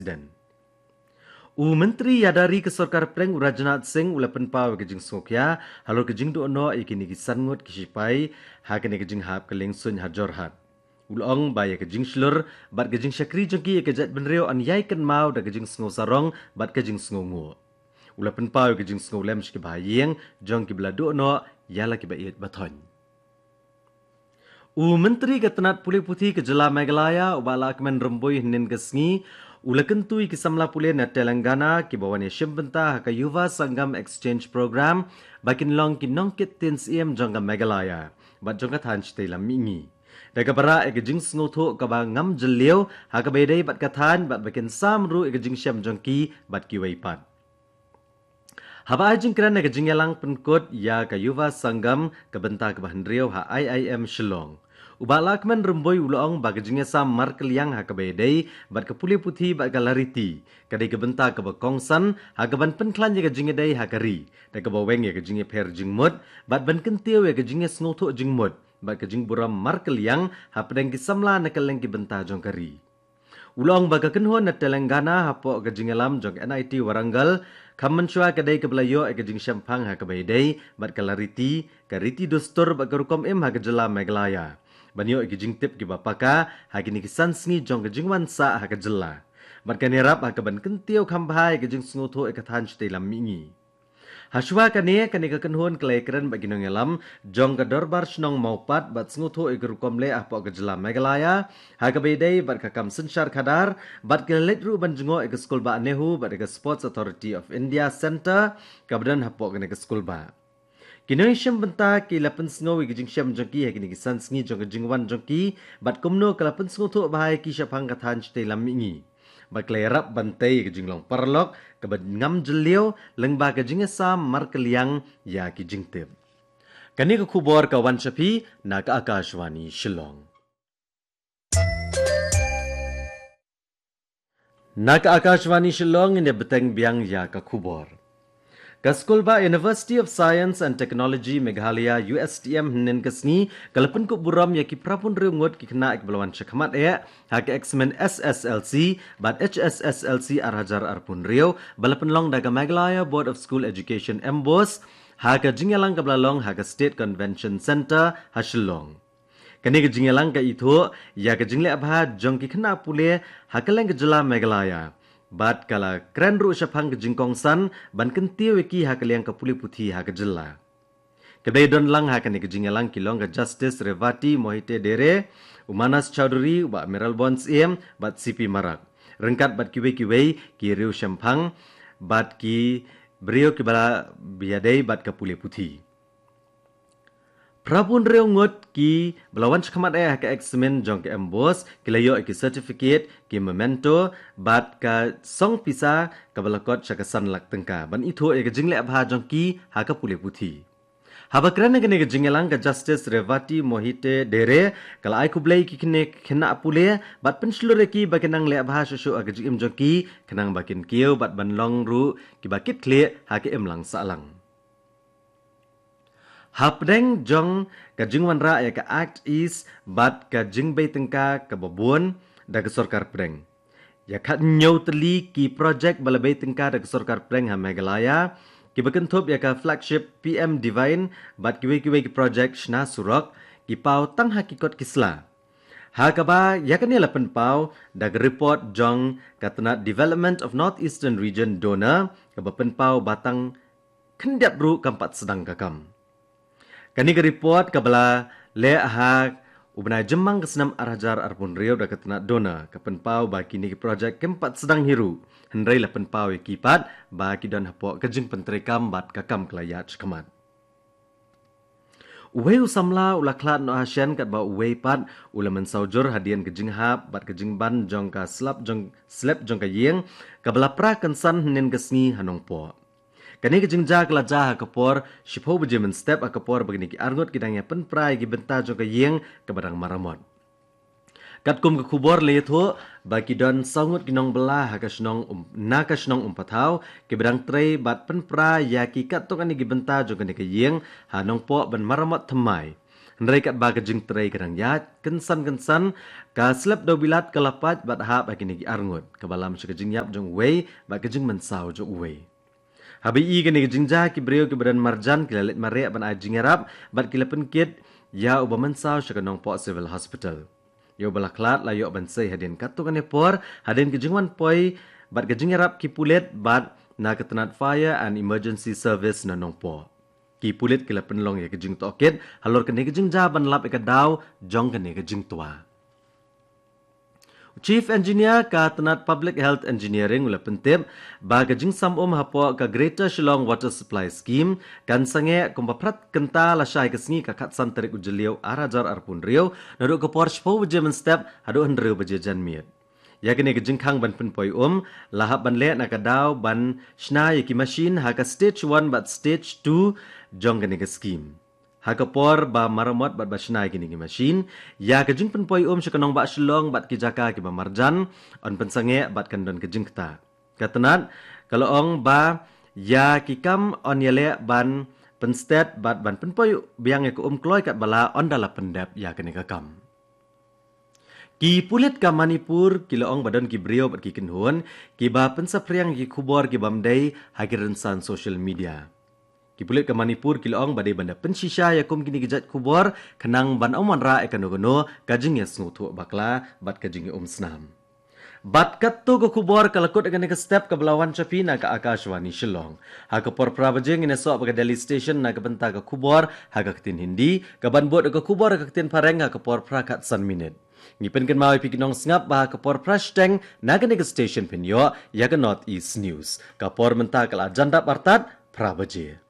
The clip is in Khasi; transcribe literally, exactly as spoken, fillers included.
President. U Myntri Ïada Ri ka Sorkar Pdeng u Rajnath Singh u la pynpaw ïa ka jingsngewkhia halor ka jingduh noh ïa kine ki san ngut ki shipai ha kane ka jinghap ka liengsuiñ ha Jorhat. U la ong ba ïa ka jingshlur bad ka jingshakri jong ki ïa ka jaitbynriew yn ïai kynmaw da ka jingsngew sarong bad ka jingsngew nguh. U la pynpaw ïa ka jingsngew lem sha ki bahaïing jong kiba la duh noh ïa la kiba ïeit ba thoiñ. U Myntri ka tnat pule puthi ka jylla Meghalaya u Bah Lahkmen Rymbui hynnin ka sngi u la kyntu ïa ki samla pule na Telangana kiba wan ïashim bynta ha ka Yuva Sangam Exchange Program ba kin long ki nongkit ktien syiem jong ka Meghalaya bad jong ka thaiñ shatei lam mihngi. Da kaba rah ïa ka jingsngewthuh kaba ngam jylliew ha kaba ïadei bad ka thaiñ bad ba kin sam ruh ïa ka jingshem jong ki bad kiwei pat. Haba ai jingkren ha ka jingïalang pynkut ïa ka Yuva Sangam ka bynta kaba hynriew ha I I M Shillong, u Bah Lahkmen Rymbui u la ong ba ka jingïasam markylliang ha kaba ïadei bad ka pule puthi bad ka lariti ka dei ka bynta kaba kongsan ha kaban pynkhlaiñ ïa ka jingïadei ha ka ri da kaba weng ïa ka jingïapher jingmut bad ban kyntiew ïa ka jingïasngewthuh jingmut bad ka jingburom markylliang hapdeng ki samla na kylleng ki bynta jong ka ri. U la ong ba ka kynhun na Telangana hapoh ka jingïalam jong N I T Warangal kham mynshuwa ka dei kaba la ïoh ïa ka jingshemphang ha kaba ïadei bad ka lariti, ka riti dustur bad ka rukom im ha ka jylla Meghalaya ban ïoh ïa ki jingtip kiba paka ha kine ki san sngi jong ka jingwan sah ha ka jylla. Bad kan ïarap ha kaban kyntiew kham bha ïa ka jingsngewthuh ïa ka thaiñ shatei lam mihngi. Hashwa kane, kane ka kynhun ka la ïakren bad ki nongïalam jong ka Dorbar Shnong Mawpat bad sngewthuh ïa ka rukom leh hapoh ka jylla Meghalaya ha kaba ïadei bad ka kam synshar khadar bad ki la leit ruh ban jngoh ïa ka skulbah NEHU bad ïa ka Sports Authority of India Centre kaba don hapoh kane ka skulbah. Ki nongïashim bynta ki la pynsngew ïa ka jingshem jong ki ha kine ki san sngi jong ka jingwan jong ki bad kumno ka la pynsngewthuh bha ïa ki shaphang ka thaiñ shatei lam mihngi. Bad ka la ïarap ban tei ïa ka jinglong paralok kaba ngam jylliew lyngba ka jingïasam markylliang ïa ki jingtip. Kane ka khubor ka wan sha phi na ka Akashvani Shillong. Na ka Akashvani Shillong ngin ïa bteng biang ïa ka khubor. Ka skulbah University of Science and Technology Meghalaya, U S T M, hynnin ka sngi ka la pynkup burom ïa ki phra phew hynriew ngut ki khynnah kiba la wan shakhmat eh ha ka eksamin S S L C bad H S S L C ar hajar arphew hynriew ba la pynlong da ka Meghalaya Board of School Education, MBOSE, ha ka jingïalang kaba la long ha ka State Convention Centre ha Shillong. Kane ka jingïalang ka ithuh ïa ka jingleh bha jong ki khynnah pule ha kylleng ka jylla Meghalaya bad ka la kren ruh shaphang ka jingkongsan ban kyntiew ïa ki ha ka liang ka pule puthi ha ka jylla. Kiba ïadon lang ha kane ka jingïalang ki long ka Justice Revati Mohite Dere, u Manas Chowdhury, u Bah Mayralborn Syiem bad C P Marak, ryngkat bad kiwei kiwei ki riewshemphang bad ki briew kiba la ïadei bad ka pule puthi. Phra phew hynriew ngut kiba la wan shakhmat eh ha ka eksamin jong ka MBOSE ki la ïoh ïa ki certificate, ki memento bad ka song pisa kaba la kot sha ka san lak tyngka ban ithuh ïa ka jingleh bha jong ki ha ka pule puthi. Haba kren ha kane ka jingïalang, ka Justice Revati Mohite Dere ka la ai khublei ïa ki khynnah pule bad pynshlur ïa ki ba kin nang leh bha shuh shuh ha ka jingim jong ki khnang ba kin kiew bad ban long ruh kiba kitkhlieh ha ka imlang sahlang. Hapdeng jong ka jingwanrah ïa ka Act East bad ka jingbei tyngka kaba bun da ka sorkar pdeng, ïa khathynñiew tylli ki projek ba la bei tyngka da ka sorkar pdeng ha Meghalaya, kiba kynthup ïa ka flagship P M Divine bad kiwei kiwei ki projek shna surok, ki paw tang ha ki kot ki sla. Ha kaba ïa kane la pynpaw da ka report jong ka tnat Development of North Eastern Region, DoNER, kaba pynpaw ba tang khyndiat ruh kam pat sdang ka kam. Kane ka report kaba la leh ha u bnai Jymmang ka snem ar hajar arphew hynriew da ka tnat DoNER ka pynpaw ba kine ki projek kim pat sdang hi ruh, hynrei la pynpaw ïa ki pat ba ki don hapoh ka jingpyntreikam bad ka kam ka la ïaid shakhmat. Uwei u samla u la khlad noh ha shen katba uwei pat u la mynsaw jur hadien ka jinghap bad ka jingban jong ka slap jong, slep jong ka ïing kaba la pra kynsan hynnin ka sngi ha Nongpoh. Kane ka jingjia ka la jia ha ka por shiphew baje mynstep, ha ka por ba kine ki arngut ki dang ïa pynpra ïa ki bynta jong ka ïing kaba dang maramot. Katkum ka khubor la ïathuh ba ki don saw ngut ki nongbylla ha ka shnong Um-, na ka shnong Umpathaw, kiba dang trei bad pynpra ïa ki katto katne ki bynta jong kane ka ïing ha Nongpoh ban maramot thymmai. Hynrei katba ka jingtrei ka dang ïaid, kynsan kynsan, ka slap dewbilat ka la pait bad hap ha kine ki arngut, kaba lam sha ka jingïap jong uwei, bad ka jingmynsaw jong uwei. Haba ïohi kane ka jingjia, ki briew kiba don marjan ki la leit mareh ban ai jingïarap, bad ki la pynkit ïa uba mynsaw sha ka Nongpoh Civil Hospital. Ïa uba la khlad la ïoh ban sei hadien katto katne por, hadien ka jingwan poi bad ka jingïarap ki pulit bad na ka tnat Fire and Emergency Service na Nongpoh. Ki pulit ki la pynlong ïa ka jingtohkit halor kane ka jingjia ban lap ïa ka daw jong kane ka jingtwa. Chief Engineer ka tnat Public Health Engineering u la pyntip ba ka jingsam um hapoh ka Greater Shillong Water Supply Scheme kan sangeh kumba phra kynta lashai ka sngi ka khatsan tarik u Jylliew ar hajar arphew hynriew, naduh ka por shiphew baje mynstep haduh hynriew baje janmiet. Ïa kane ka jingkhang ban pynpoi um la hap ban leh na ka daw ban shna ïa ki machine ha ka stage one bad stage two jong kane ka scheme. Ha ka por ba maramot bad ba shna ïa kine ki machine, ïa ka jingpynpoi um sha ka nongbah Shillong bad ki jaka kiba marjan yn pynsangeh bad kan don ka jingktah. Ka tnat ka la ong ba ïa ki kam yn ïaleh ban pynstet bad ban pynpoi biang ïa ka um kloi katba lah ynda la pyndep ïa kane ka kam. Ki pulit ka Manipur ki la ong ba don ki briew bad ki kynhun kiba pynsaphriang ïa ki khubor ki bym dei ha ki rynsan social media. Ki pulit ka Manipur ki la ong ba dei ban da pynshisha ïa kum kine ki jait khubor khnang ban ym wanrah ïa kano kano ka jingïasngewthuh bakla bad ka jingïaumsnam. Bad katto ka khubor ka la kut ha kane ka step kaba la wan sha phi na ka Akashvani Shillong. Ha ka por phra baje ngin ïasoh bad ka Delhi Station na ka bynta ka khubor ha ka ktien Hindi, kaban bud ka khubor ha ka ktien Phareng ha ka por phra khatsan minit. Ngi pynkynmaw ïa phi ki nongsngap ba ha ka por phra shiteng na kane ka station phin ïoh ïa ka North East News. Ka por mynta ka la jan dap artat phra baje.